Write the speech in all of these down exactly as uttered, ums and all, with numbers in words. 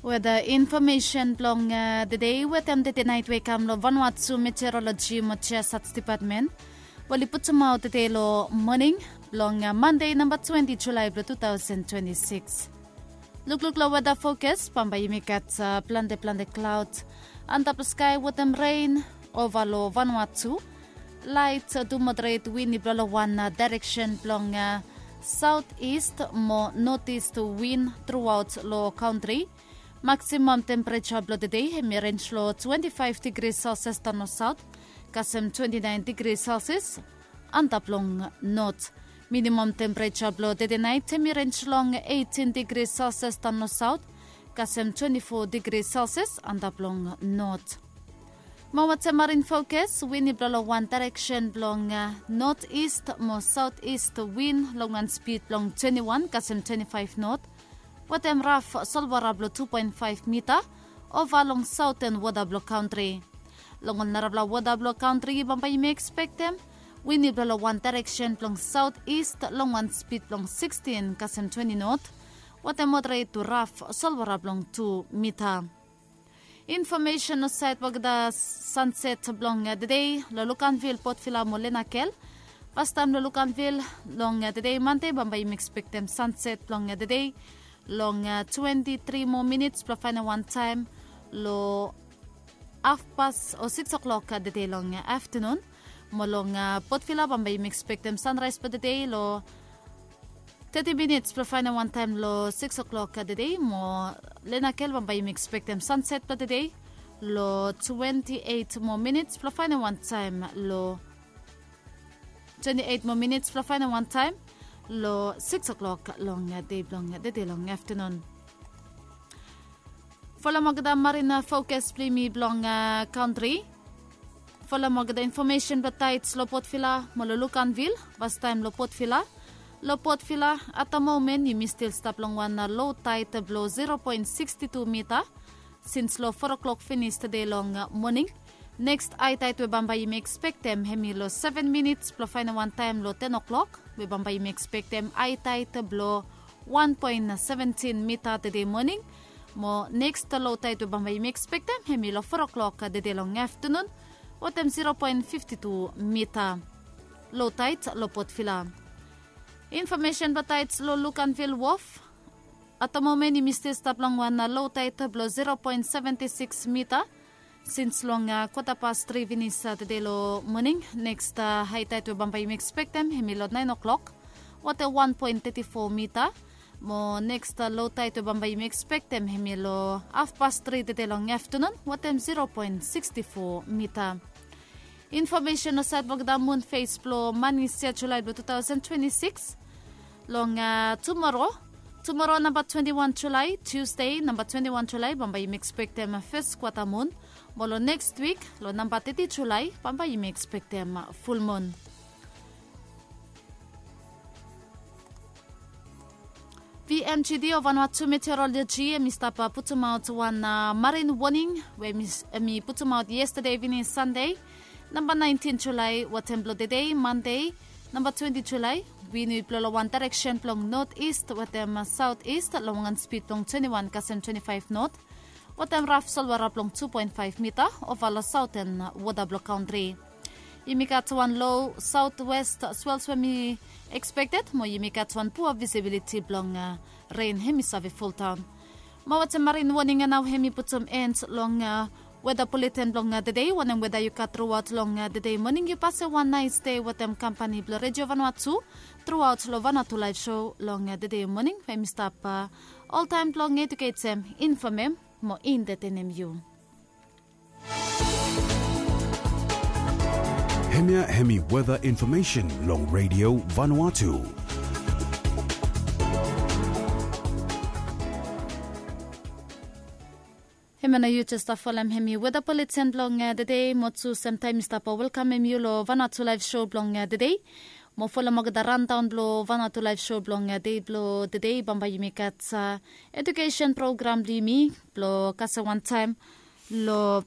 Weda infomesen blong tede wetem tede nait we i kam long Vanuatu Meteoroloji mo Geosat Dipatmen, we oli putumaot tede long moning blong Mande namba twenti Julae blong tu taosen twenti sikis. Lukluk long weda fokas, bambae yumi gat plante plante klaod antap long skae wetem ren ova long Vanuatu. Laet tu moderet win i blo long wan daereksen blong saot ist mo not ist win truaot long kantri. Maksimam tempereja blong tede hem i renj long twenti faef digri Celsius daon long saot kasem twenti naen digri Celsius antap long not. Minimam tempereja blong tede nait hem i renj long eitin digri Celsius daon long saot kasem twenti fo digri Celsius antap long not. Mo wetem marin fokas, win i blo long wan daereksen blong not ist mo saot ist win long wan spid blong twenti wan kasem twenti faef not, wetem raf solwara blong tu poen faef mita ova long saoten wota blong kantri. Long ol narafala wota blong kantri bambae yumi ekspektem win i blo long wan daereksen blong saot ist long wan spid blong sikstin kasem twenti not, wetem moderet tu raf solwara blong tu mita. Infomesen long saed blong olgeta sanset blong tede long Luganville, Port Vila mo Lenakel. Fastaem long Luganville long tede Mande bambae yumi ekspektem sanset blong tede long twenti tri moa minits blong faenem wan taem long hafpas o sikis oklok tede long aftanun. Mo long Port Vila bambae yumi ekspektem sanraes blong tede long teti minits blong faenem wan taem long sikis oklok tede. Mo Lenakel bambae yumi ekspektem sanset blong tede long twenti eit moa minits blong faenem wan taem long twenti eit moa minits blong faenem wan taem long sikis oklok long dei blong tede long aftanun. Folem olgeta marin fokas blong yumi blong kantri. Folem olgeta infomesen blong taets long Port Vila mo long Luganville. Fastaem long Port Vila. Long Port Vila, at the moment yumi stil stap long wan lo taet blong zero poen siksti tu mita sins long fo oklok finis tede long moning. Neks ae taet we bambae yumi ekspektem hem i long seven minits blong faenem wan taem long ten oklok, we bambae yumi ekspektem ae taet blong wan poen seventin mita tede moning. Mo neks lo taet we bambae yumi ekspektem hem i long fo oklok tede long aftanun, wetem zero poen fifti tu mita. Lo taet long Port Vila. Infomesen blong taets long Luganville Wof. At the moment yumi stil stap long wan lo taet blong zero poen seventi sikis mita sins long kwata pas tri finis tede long moning. Neks ae taet we bambae yumi ekspektem hem i long naen oklok, wetem wan poen teti fo mita. Mo neks lo taet we bambae yumi ekspektem hem i long hafpas tri tede long aftanun, wetem zero poen siksti fo mita. Infomesen long saed blong olgeta mun fes blong man isi yia Julae blong tu taosen twenti sikis. Long tumoro, tumoro namba twenti wan Julae, Tusde namba twenti wan Julae bambae yumi ekspektem fes kwata mun. Mo long neks wik long namba teti Julae bambae yumi ekspektem fulmun. V M G D o Vanuatu Meteoroloji hem i stap putumaot wan marin woning we hem i putumaot yestade ivening Sande, namba naentin Julae, wetem blong tede Mande namba twenti Julae, win i blo long wan daereksen blong not ist wetem saot ist long wan spid blong twenti wan kasem twenti faef not, wetem raf solwara blong tu poen faef mita ova long saoten wota blong kantri. Yumi gat wan lo saotwes swels we hem i ekspekted mo yumi gat wan pua visibiliti blong ren hem i save foldaon. Mo wetem marin woning ya nao hem i putum en long weda buleten blong tede. Wanem weda yu gat truaot long tede moning, yu pasem wan naes dei wetem kampani blong Redio Vanuatu truaot long Vanuatu Laef Sou long tede moning, we hem i stap oltaem blong ejuketem, infomem mo entetenem yu. Hemia hemi weda infomesen long Redio Vanuatu. Hemia nao yu jes stap folem hemi weda buleten blong tede, mo tu semtaem mi stap welkamem yu long Vanuatu Laef Sou blong tede. Mo folem olgeta randaon blong Vanuatu Laef Sou blong dei blong tede. Bambae yumi gat ejukesen program blong yumi blong kasem wantaem long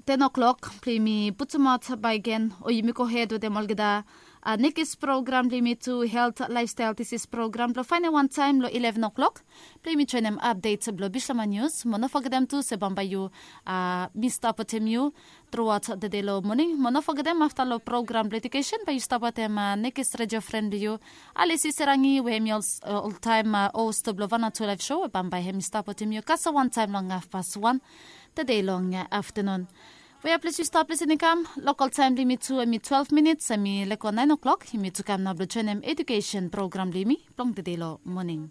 ten o'clock blong yumi putumaot bakegen, o yumi gohed wetem olgeta Nekis program blong yumi tu helt laefstael disis program blong faenem wantaem long ileven o'klok. Blong yumi joenem apdet blong Bislama Nius mo no fogetem tu se bambae yu mi stap wetem yu truaot tede long moning. Mo no fogetem afta long program blong edukesen bae yu stap wetem nekis redio fren blong yu, Alisi Serangi, we hemi oltaem host blong Vanuatu Laef Show, we bambae hemi stap wetem yu kasem wantaem long hafpas wan tede long aftenun. Wea ples yu stap lisin i kam, lokal taem blong yumi tu hemi twelve minits, hemi lego naen o'klok. Yumi tu kam nao blong joenem edukesen program blong yumi blong tede long moning.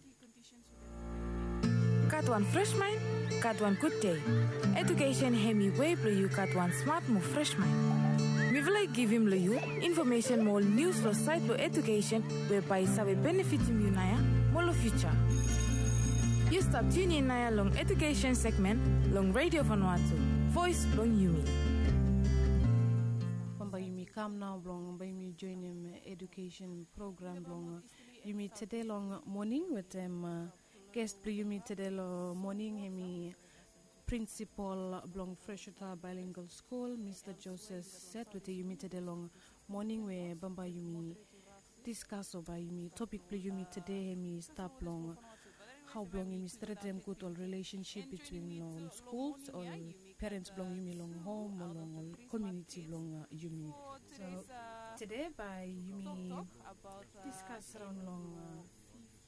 Gat wan fres maen, gat wan gud dei. Edukesen hemi wei blong yu gat wan smat mo fres maen. Mifala i givim long yu infomesen mo ol nius long saed blong edukesen we bae i save benefitim yu naoia mo long fiuja. Yu stap tiun in naoia long edukesen segmen long Redio Vanuatu, voes blong yumi. Bambae yumi kam nao blong bae yumi joenem edukesen program blong yumi tede long moning wetem ges blong yumi tede long moning hemi prinsipol blong Freshwater Bilingual School, Mista Joseph Set wetem yumi tede long moning, we bambae yumi diskas o bae yumi topik blong yumi tede hemi stap long hao blong yumi stretem gud ol rilesensip bitwin ol skuls, ol perens blong yumi long hom o long ol komuniti blong yumi. So tede bae yumi diskas raon long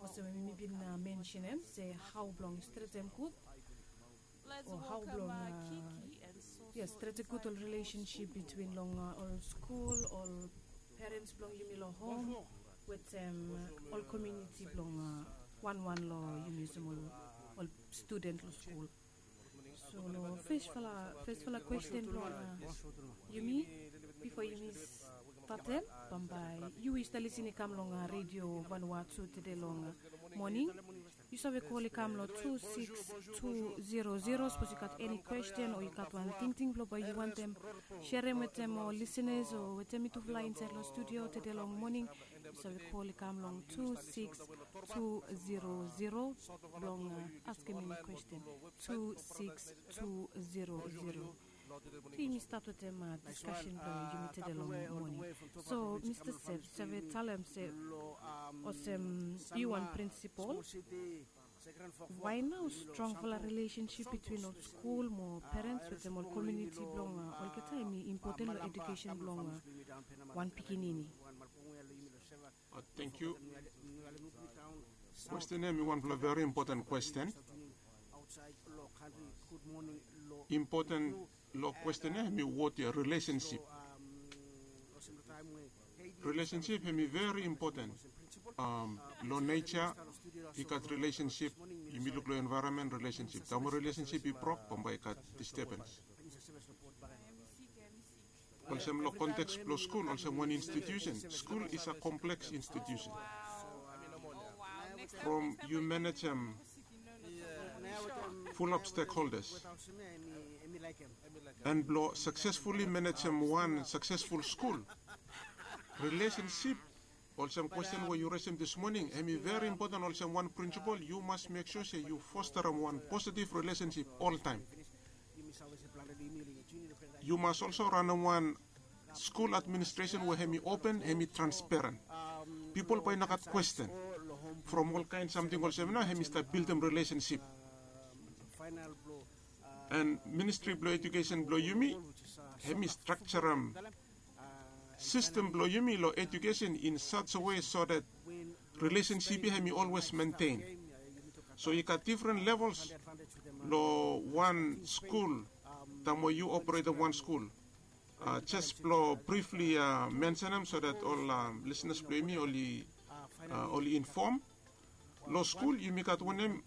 olsem we mi bin mensenem se hao blong stretem gud o hao blong ya stretem gud ol rilesensip bitwin long ol skul, ol perens blong yumi long hom wetem ol komuniti blong wanwan long yumi olsem ol studen long skul. So long fesfala fesfala kwesten blong yumi bifo yumi statem, bambae yu we yu stap lisin i kam long Redio Vanuatu tede long moning, yu save kol i kam long tu sikis tu zero zero sapos yu gat eni kwesten o yu gat wan tingting blong bae yu wantem serem wetem ol lisenas o wetem mitufala insaed long studio tede long moning. Yu save kol i kam long tu sikis tu zero zero blong askem eni kwesten. Tu sikis tu zero zero. Yumi stat wetem diskasen blong yumi tede long moning. So Mista Sep, yu save talem se olsem yu wan prinsipol, wae nao strongfala rilesensip bitwin ol skul mo perens wetem ol komuniti blong olgeta hemi impoten long edukesen blong wan pikinini? Tangkiu. Kwesten ya hemi wanfala veri impoten kwesten. Impoten long kwesten ya hemi wod ya rilesensip. Rilesensip hemi veri impoten. Long neja i gat rilesensip, yumi luk long envaeronmen rilesensip, taem we rilesensip i brok bambae i gat distebens. Olsem long konteks blong skul olsem wan institusen, skul is a kompleks institusen. From yu manejem fulap stekholdas an blong saksesfuli manejem wan saksesful skul, rilesensip olsem kwesten we yu resem dismoning hemi veri impoten. Olsem wan prinsipol yu mas mek sua se yu fosterem wan positiv rilesensip oltaem. Yu mas olso ranem wan skul administresen we hemi open, hemi transparen. Pipol bae i no gat kwesten from olkaen samting olsem nao hemi stap bildim rilesensip. An ministri blong edukesen blong yumi hemi strakjarem sistem blong yumi long edukesen in saj a wei so dat rilesensip ya hemi olwes mentein. So i gat difren levels long wan skul taem we yu operetem wan skul. Jes blong brifli mensenem so dat ol lisnas blong yumi oli infom. Long skul yumi gat wanem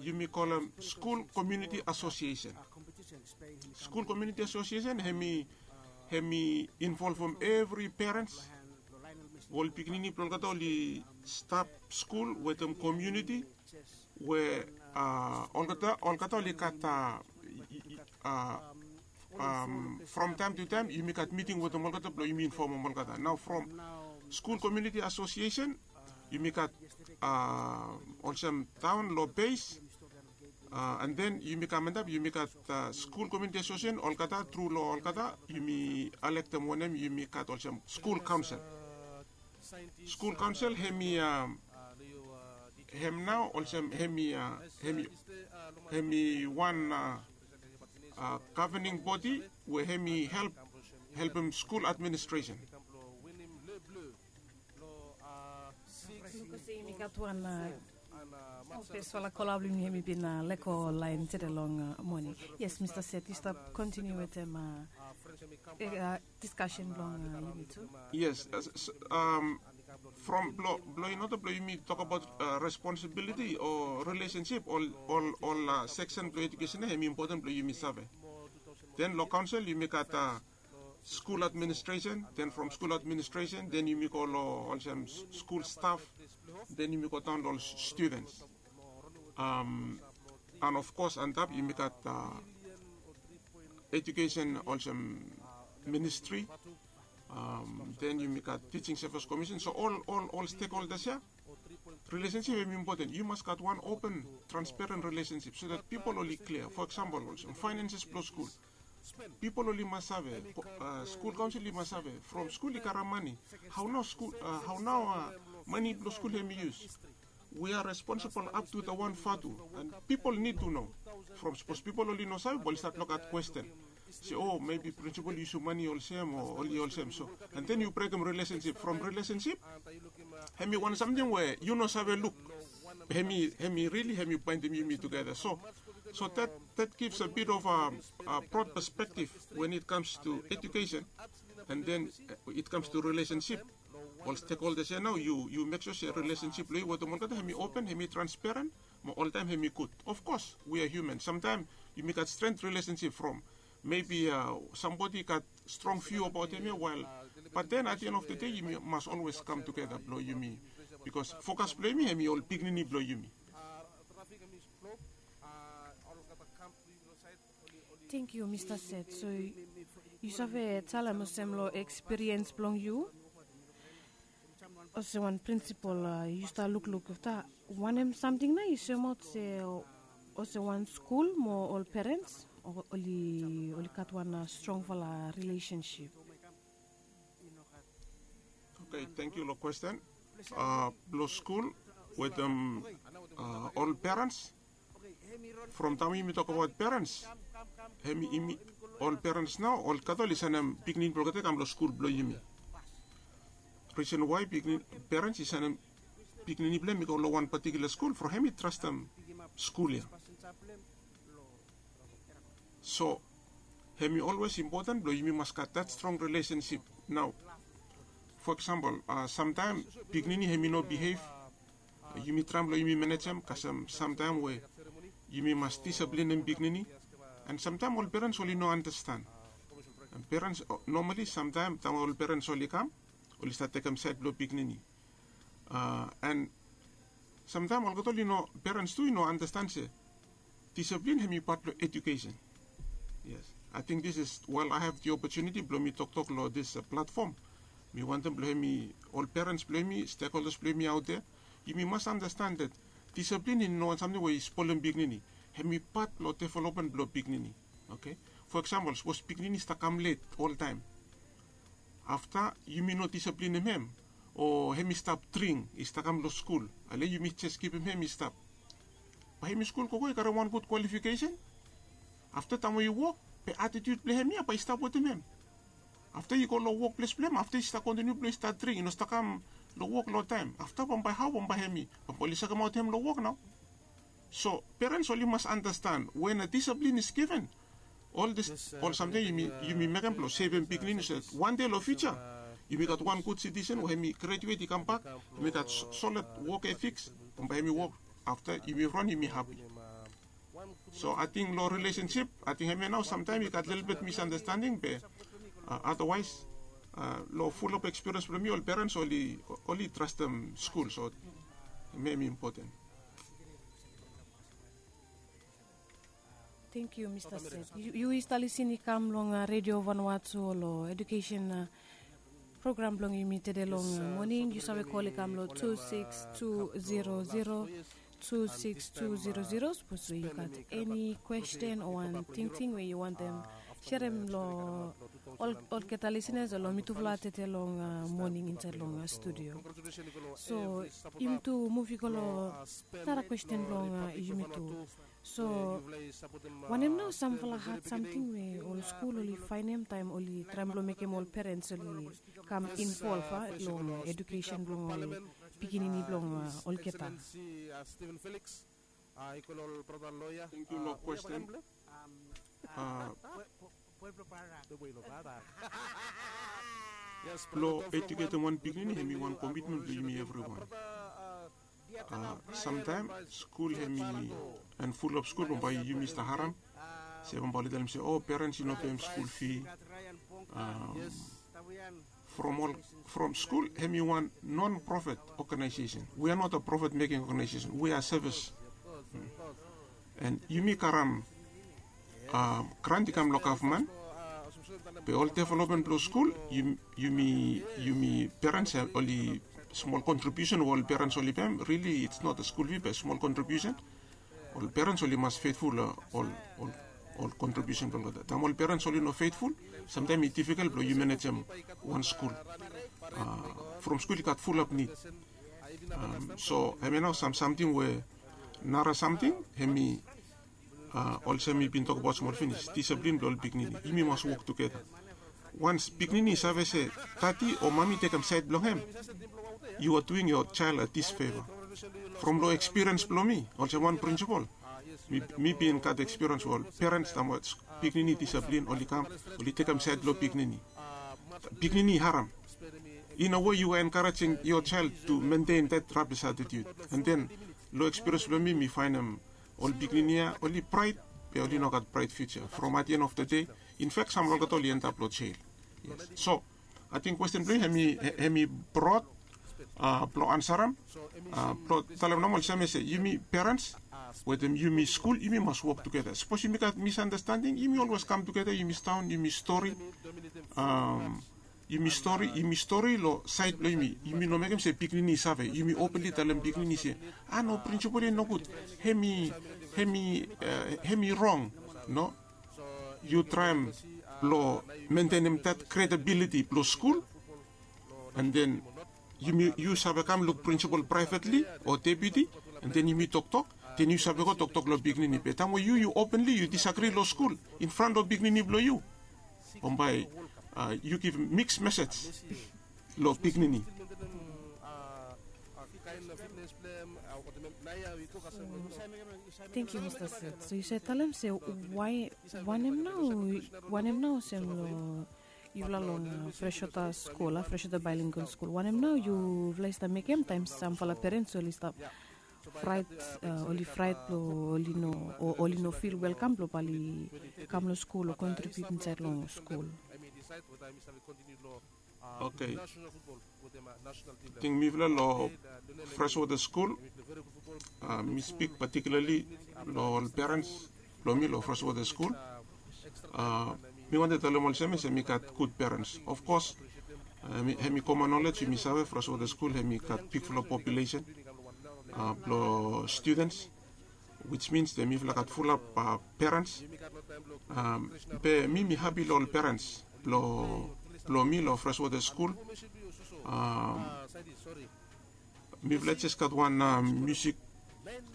yumi kolem skul komuniti asosiesen. Skul komuniti asosiesen hemi involvem evri perens we ol pikinini blong olgeta oli stap skul wetem komuniti we olgeta olgeta oli gat from taem tu taem yumi gat miting wetem olgeta blong yumi infomem olgeta. Nao from skul komuniti asosiesen yumi gat olsem taon long bes. An den yumi kam antap yumi gat skul komuniti asosiesen olgeta tru long olgeta yumi alektem wanem yumi gat olsem skul kaonsel. Skul kaonsel hem i hem nao olsem hem i hem i wan govening bodi we hem i help helpem skul administresen. Yumi gat wan fesfala kola blong yumi hem i bin lego laen tede long moning. Yes, Mista Set, yu stap kontiniu wetem diskasen blong yumi tu. Yes. From blong in oda blong yumi tokabaot responsibiliti o rilesensip ol ol seksen blong ejukesen ya hem i impoten blong yumi save. Den long kaonsel yumi gat skul administresen, den from skul administresen den yumi go long olsem skul staf, den yumi go daon long ol studens. An ofkos antap yumi gat ejukesen olsem ministri, den yumi gat tising sevis komisen. So ol ol ol stekholdas ya, rilesensip hem i impoten. Yu mas gat wan open transperen rilesensip so dat pipol oli klia. Fo eksampol olsem faenenses blong skul, pipol oli mas save, skul kaonsel i mas save from skul i karem mane, hao nao skul hao nao mane blong skul hem i yus. We a responsibol ap tu da wan fatu an pipol nid tu no. From sapos pipol oli no save bae oli stat lukaot kwesten se o mebi prinsipol i yusum mane olsem o oli olsem so. An den yu brekem rilesensip from rilesensip, hem i wan samting we yu no save luk. Hem i rili hem i baentem yumi tugeta so so dat givs a bit of a brod pespektif wen it kams tu ejukesen. An den it kams tu rilesensip, ol stekholdas ya nao yu mek sua se rilesensip blong yu wetem olgeta hem i open hem i transperen, mo oltaem hem i gud. Ofkos we a hiuman samtaem yumi gat stren rilesensip from mebi sambodi i gat strong fiu abaot hem ya wael. Bat den at the end of the day yumi mas olwes kam tugeta blong yumi, bikos fokas blong yumi hem i ol pikinini blong yumi. Tengkiu mista set so yu save talem olsem long ekspiriens blong yu olsem wan prinsipol yu stap lukluk afta wanem samting nao yu soemaot se olsem wan skul mo ol perens oli gat wan strongfala rilesensip. Oke, tengkiu long kwesten. Blong skul wetem ol perens. From taem yumi tokabaot perens, hem yumi ol perens nao olgeta oli sanem pikinini blong olgeta i kam long skul blong yumi. Risen wae perens i sanem pikinini blong hem i go long wan patikula skul from hem i trastem skul ya. So hem i olwes impoten blong yumi mas gat dat strong rilesensip. Nao fo eksampol samtaem pikinini hem i no bihev. Yumi traem blong yumi manejem kasem samtaem we yumi mas disaplinem pikinini. An samtaem ol perens oli no andastan. Perens nomali samtaem taem ol perens oli kam oli stat tekem saed blong pikinini. An samtaem olgeta oli no perens tu i no andastan se disaplin hem i pat blong ejukesen. Yes, ating dis is wael ai hav di opotuniti blong mi toktok long dis platfom. Mi wantem blong hem i ol perens blong hem i stekholdas blong hem i aot ya, yumi mas andastan dat disaplin i no wan samting we i spolem pikinini. Hem i pat long developmen blong pikinini. Oke, fo eksampol sapos pikinini i stap kam let oltaem, afta yumi no disaplinem hem o hem i stap dring i stap kam long skul, ale yumi jes givim hem i stap, bae hem i skul gogo i karem wan gud kwalifikesen. Afta taem we i wok, be atitiut blong hem ya bae i stap wetem hem. Afta i go long wokples blong hem afta i stap kontiniu blong i stap dring i no stap kam long wok long taem, afta bambae hao bambae hem i bambae oli sekemaot hem long wok nao. So perens oli mas andastan we na disaplin is given. Ol dis ol samting yumi mekem blong sevem pikinini so dat wan dei long fiuja yumi gat wan gud sitisen we hem i grejuet i kambak, hem i gat solid wok efiks, bambae hem i wok afta yumi ran yumi hapi. So ating long rilesensip ating hem ya nao samtaem i gat lelebet misandastanding be adawaes long fulap ekspiriens blong mi ol perens oli trastem skul so hem ya hem i impoten. Tengkiu mista set. Yu i stap lisin i kam long redio vanua tu long edukesen program blong yumi tede long moning yu save kol i kam long tu siks tu zero zero, tu siks tu zero zero sapos we yu gat eni kwesten o wan tingting we yu wantem Serem long olgeta lisenas long mitufala tete long moning insaed long studio. So yumi tu muv i go long nara kwesten blong yumi tu. So wanem nao samfala had samting we ol skul oli faenem taem oli traem blong mekem ol perens oli kam involv long edukesen blong ol pikinini blong olgeta? Thank you long kwesten. Blong ejuketem wan pikinini hem i wan komitmen blong yumi evriwan. Samtaem skul hem i, an fulap skul bambae yumi stap harem se bambae oli talem se o perens i no pem skul fi. From ol from skul hem i wan non profit ogenaesesen. We a not a profit meking ogenaesesen, we a sevis. An yumi karem grant i kam long gavman. Be ol developmen blong skul yumi yumi perens oli smol kontribiusen we ol perens oli pem, rili its not a skul fi be smol kontribiusen. Ol perens oli mas fetful long ol ol kontribiusen blong olgeta. Taem ol perens oli no fetful, samtaem i difikel blong yu manejem wan skul. From skul i gat fulap nid. So hemia nao sam samting we nara samting hem i olsem mi bin tokbaot smol finis, disaplin blong ol pikinini. Yumi mas wok tugeta. Wans pikinini i save se dadi o mami tekem saed blong hem, yu a duing yo jael a disfeva. From long ekspiriens blong mi olsem wan prinsipol, mi bin gat ekspiriens we ol perens taem ol pikinini disaplin oli kam, oli tekem saed blong pikinini. Pikinini i harem. In a wei yu a enkarejing yo jael tu mentein dat rabis atitiut. An den long ekspiriens blong mi mi faenem ol pikinini ya oli braet be oli no gat braet fiuja. From at the end of the day, in fak sam long olgeta oli endap long jel. So ating kwesten blong yu hem i brod blong ansarem. Blong talem nomo olsem ya se yumi perens wetem yumi skul yumi mas wok tugeta. Sapos yumi gat misandastanding yumi olwes kam tugeta, yumi sidaon yumi stori. Yumi stori yumi stori long saed blong yumi. Yumi no mekem se pikinini i save. Yumi openli talem pikinini se a no, prinsipol ya i nogud. Hem i hem i hem i rong. No, yu traem blong mentenem dat kredabiliti blong skul. An den yumi yu save kam luk prinsipol praevetli o depiuti. An den yumi toktok, den yu save go toktok long pikinini. Be taem we yu yu openli yu disagri long skul in fran long pikinini blong yu, bambae yu givim miks mesej long pikinini. Tengkiu mista set. So yu save talem se wae wanem nao wanem nao olsem long yufala long freshwater skul a freshwater baelingual skul wanem nao yufala i stap mekem taem samfala perens oli stap fraet oli fraet blong oli no o oli no fil welkam blong bae oli kam long skul o kontribiut insaed long skul? Okei. Ting mifala long freshwater skul mi spik patikilarli long ol perens blong mi long freshwater skul. Mi wantem talem olsem ya se mi gat gud perens. Ofkos hem i komon nolej yumi save freshwater skul hem i gat bigfala populesen blong studens, wits mins de mifala gat fulap perens. Be mi mi hapi long ol perens blong mi long freshwater skul. Mifala jes gat wan musik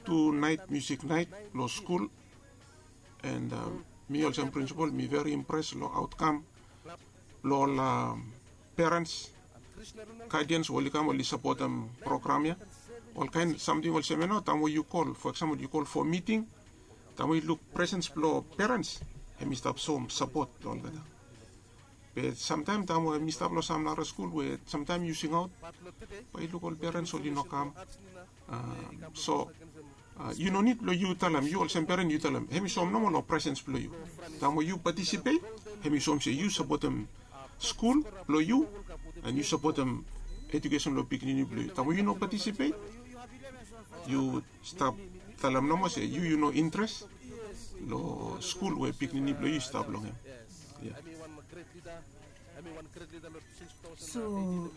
tu naet musik naet long skul. An mi olsem prinsipol mi veri impres long aotkam blong ol perens gaedens we oli kam oli sapotem program ya. Olkaen samting olsem ya nao taem we yu kol fo eksampol yu kol fo miting, taem we yu luk presens blong perens hem i stap soem sapot long olgeta. Be samtaem taem we mi stap long sam nara skul we samtaem yu singaot bae yu luk ol perens oli no kam. So yu no nid blong yu talem yu olsem peren yu talem hem i soem nomo long presens blong yu. Taem we yu patisipet hem i soem se yu sapotem skul blong yu an yu sapotem ejukesen blong pikinini blong yu. Taem we yu no patisipet yu stap talem nomo se yu yu no intres long skul we pikinini blong yu i stap long hem. So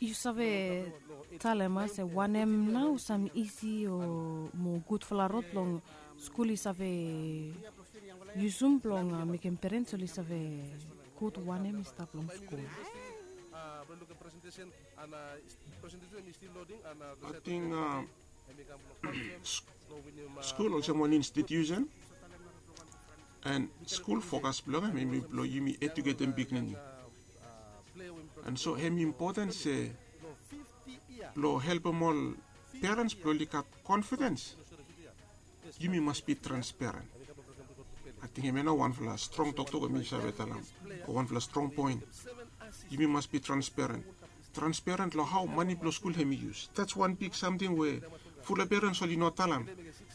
yu save talem a se wanem nao sam isi o mo gudfala rod blong skul i save yusum blong mekem perens oli save gud wanem i stap long skul. Ating skul olsem wan institusen, an skul fokas blong hem hemi blong yumi eduketem pikinini. An so hem impoten se blong helpem ol perens blong oli gat konfidens, yumi mas bi transperen. Ating hemia nao wanfala strong toktok we mi save talem, o wanfala strong poen. Yumi mas bi transperen. Transperen long hao mane blong skul hemi yus. Dats wan bik samting we fula perens oli no talem,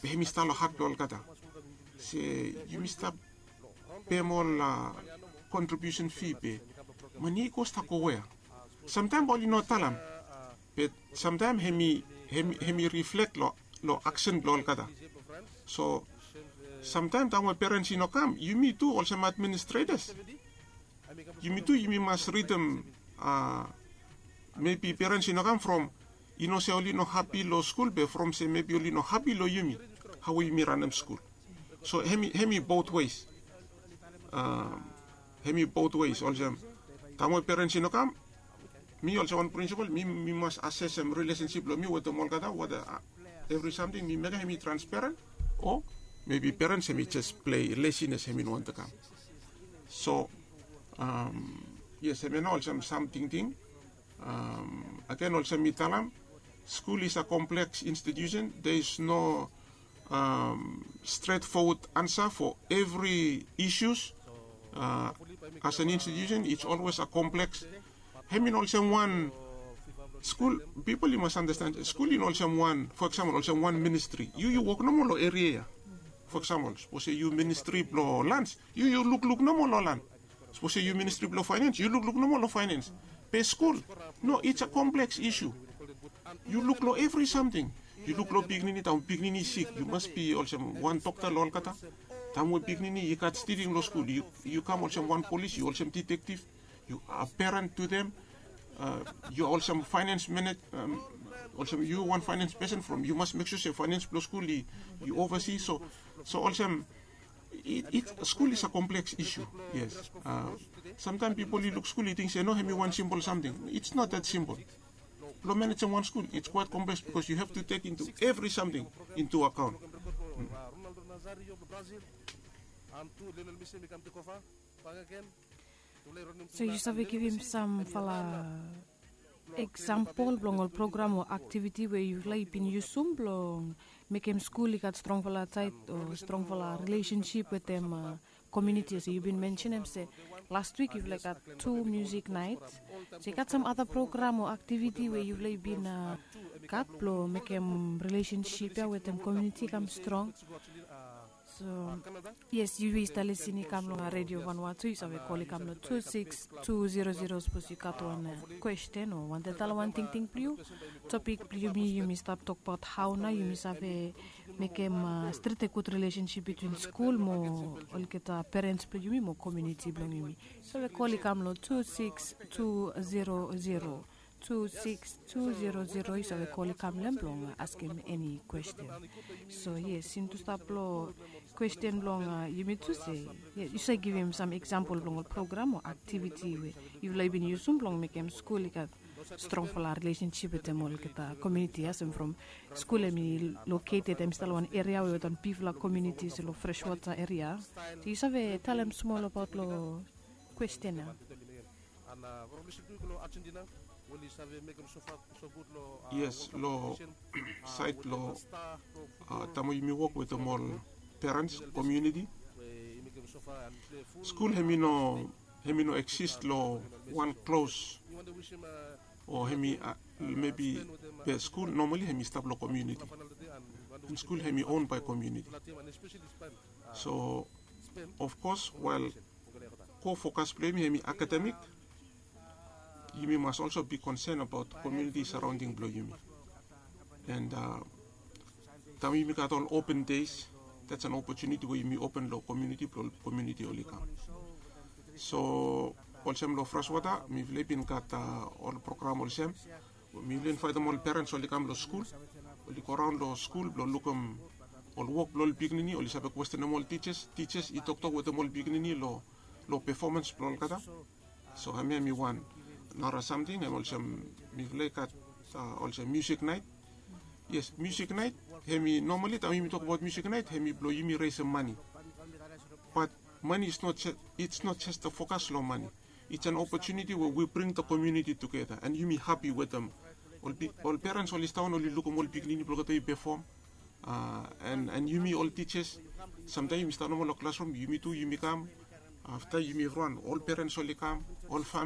be hemi stap long hat blong olgeta. Se yumi stap pem ol kontribiusen fi be mane i go stap go wea? Samtaem bae oli no talem, be samtaem hemi riflek long aksen blong olgeta. So samtaem taem we perens i no kam, yumi tu olsem administretas, yumi tu yumi mas ridim. Mebi perens i no kam from i no se oli no hapi long skul be from se mebi oli no hapi long yumi, hao we yumi ranem skul. So hemi bot weis. Hemi bot weis olsem, taem we perens i no kam, mi olsem wan prinsipol mi mas asesem rilesensip blong mi wetem olgeta wata evri samting mi mekem hemi transperen, o mebi perens hemi jes plei lesines, hemi no wantem kam. So yes, hemia nao olsem sam tingting. Agen olsem mi talem, skul is a kompleks institusen. There is no stret fowod ansa fo evri isus. As an institusen its olwes a kompleks. Hem i no olsem wan skul. Pipol i mas andasten skul i no olsem wan, fo eksampol olsem wan ministri. Yu yu wok nomo long eria ya. Fo eksampol sapos se yu ministri blong lans, yu yu lukluk nomo long lan. Sapos se yu ministri blong faenens, yu lukluk nomo long faenens. Be skul, no, its a kompleks isu. Yu luk long evri samting. Yu luk long pikinini, taem pikinini i sik yu mas bi olsem wan dokta long olgeta. Taem we pikinini i gat stilin long skul, yu kam olsem wan polis, yu olsem ditektif. Yu a peren tu dem. Yu a olsem faenens menet, olsem yu wan faenens pesen from yu mas mek sua se faenens blong skul i ovasi. So olsem skul is a kompleks isu. Yes. Samtaem pipol i luk skul i ting se no, hem i wan simpol samting. Its not that simpol. Blong manejem wan skul its kwaet kompleks bikos yu hav tu tek intu evri samting intu akaon. So yu save givim samfala eksampol blong ol program o aktiviti we yufala i bin yusum blong mekem skul i gat strongfala tait o strongfala rilesensip wetem komiuniti? Olsem yu bin mensenem se last wik yufala i gat tu musik nait. So i gat sam ada program o aktiviti we yufala i bin gat blong mekem rilesensip ya wetem komiuniti i kam strong. So yes, yu yu stap lisin i kam long redio vanua tu, yu save kol i kam long tu siks tu zero zero sapos yu gat wan kwesten o wantaem talem wan tingting blong yu. Topik blong yumi, yumi stap tokbaot hao nao yumi save mekem stret gud rilesensip bitwin skul mo olgeta perens blong yumi mo komiuniti blong yumi. Yu save kol i kam long tu siks tu zero zero, tu siks tu zero zero, yu save kol i kam long hem blong askem eni kwesten. So yes, since tu stap long kwesten blong yumi tu se yu save givim sam eksampol blong ol program o aktiviti we yufala i bin yusum blong mekem skul i gat strongfala rilesensip wetem olgeta komiuniti ya, olsem from skul hem i loketed hem i stap long wan eria we wetem bigfala komiuniti olsem long Freshwater eria. So yu save talem smol abaot long kwesten ya? Yes, long sait blong taem we yumi wok wetem ol perens, komiuniti, skul hem i no, hem i no eksis long wan klos o hem i mebi, be skul nomali hem i stap long komiuniti. An skul hem i on bae komiuniti. So ofkos wael ko fokas blong yumi hem i akademik, yumi mas olso bi konsen abaot komiuniti saraonding blong yumi. An taem yumi gat ol open deis, dats an opotuniti we yumi open long komiuniti blong komiuniti oli kam. So olsem long Freshwater mifala i bin gat ol program olsem, mifala i invaetem ol perens oli kam long skul, oli goraon long skul blong lukim ol wok blong ol pikinini, oli save kwestenem ol tijas, tijas i toktok wetem ol pikinini long long performance blong olgeta. So hemia hemi wan nara samting hem olsem mifala i gat uh, olsem music night. Yes, music night, hemi normally taem yumi tok abaot music night hemi blong yumi resem mani. But money is not ju- it's not just the focus long money. It's an opportunity where we bring the community together and yumi happy wetem ol, pi- ol parents oli stap oli lukum ol pikinini blong olgeta i perform. Uh, and, and yumi ol teachers, samtaem yumi stap nomo long classroom, yumi tu yumi kam. Afta yumi evriwan, ol parents oli kam, ol family